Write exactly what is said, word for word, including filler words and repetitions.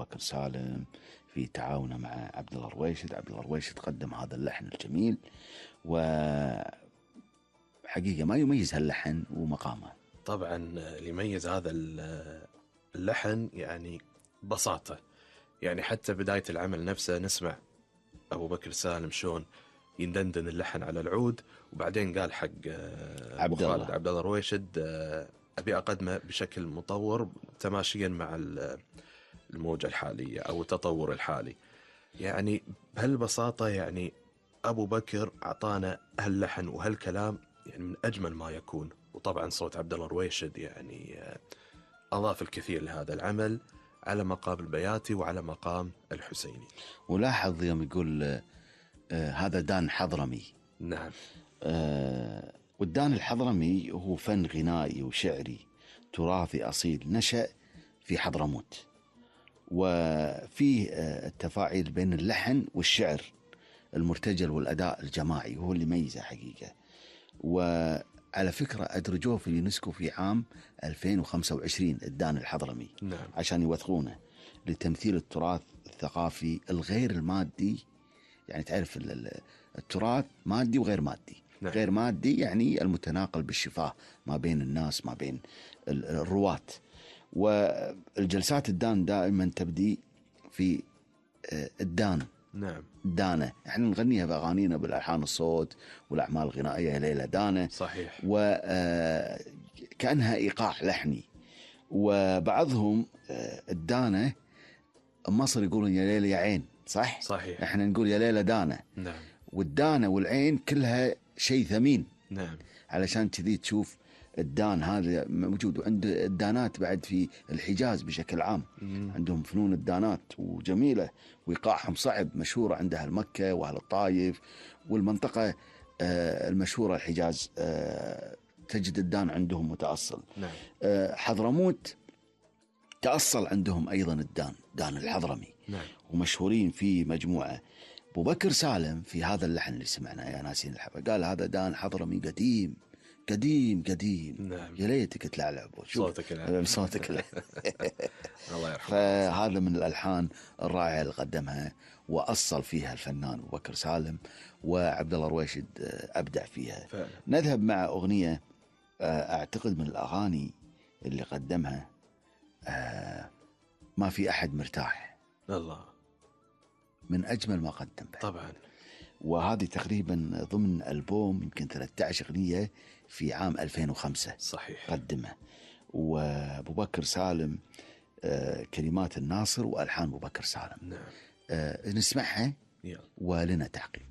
بكر سالم في تعاونه مع عبد الله الرويشد. عبد الله الرويشد قدم هذا اللحن الجميل، وحقيقة ما يميز هاللحن ومقامه. طبعا اللي يميز هذا اللحن يعني بساطة، يعني حتى بداية العمل نفسه نسمع أبو بكر سالم شون يندندن اللحن على العود، وبعدين قال حق عبد الله عبد الله الرويشد أبي أقدمه بشكل مطور تماشيا مع الموجة الحالية أو التطور الحالي. يعني بهالبساطة يعني أبو بكر أعطانا هاللحن وهالكلام يعني من أجمل ما يكون. وطبعا صوت عبد الله الرويشد يعني أضاف الكثير لهذا العمل على مقام البياتي وعلى مقام الحسيني. ولاحظ يوم يقول آه هذا دان حضرمي. نعم. آه والدان الحضرمي هو فن غنائي وشعري تراثي أصيل نشأ في حضرموت، وفيه آه التفاعل بين اللحن والشعر المرتجل والأداء الجماعي هو اللي ميزه حقيقة. وعلى فكرة أدرجوه في اليونسكو في عام ألفين وخمسة وعشرين الدان الحضرمي. نعم. عشان يوثقونه لتمثيل التراث الثقافي الغير المادي. يعني تعرف التراث مادي وغير مادي. نعم. غير مادي يعني المتناقل بالشفاه ما بين الناس ما بين الرواة. والجلسات الدان دائما تبدي في الدان. نعم. دانة احنا نغنيها بأغانينا بالألحان الصوت والأعمال الغنائية ليلة دانة. صحيح. وكأنها إيقاع لحني. وبعضهم الدانة مصر يقولون يا ليلة يا عين. صح؟ صحيح. احنا نقول يا ليلة دانة. نعم. والدانة والعين كلها شيء ثمين. نعم. علشان كذي تشوف الدان هذا موجود. وعند الدانات بعد في الحجاز بشكل عام. مم. عندهم فنون الدانات وجميلة وإيقاعهم صعب، مشهورة عندها المكة وأهل الطايف والمنطقة المشهورة الحجاز تجد الدان عندهم متأصل. نعم. حضرموت تأصل عندهم أيضا الدان، دان الحضرمي. نعم. ومشهورين في مجموعة. أبو بكر سالم في هذا اللحن اللي سمعناه يا ناسين الحبة قال هذا دان حضرمي قديم قديم قديم. نعم. يا ليتك تلعلع صوتك العب. صوتك العب. الله يرحمه. فهذا من الألحان الرائعة اللي قدمها وأصل فيها الفنان أبو بكر سالم، وعبد الله الرويشد أبدع فيها. فعلا. نذهب مع أغنية أعتقد من الأغاني اللي قدمها ما في أحد مرتاح. الله. من أجمل ما قدم بعد. طبعا. وهذه تقريبا ضمن ألبوم يمكن ثلاثة عشر أغنية في عام ألفين وخمسة. صحيح. قدمه. وأبو بكر سالم آه كلمات الناصر وألحان أبو بكر سالم. نعم. آه نسمعها يلا. ولنا تعقيب.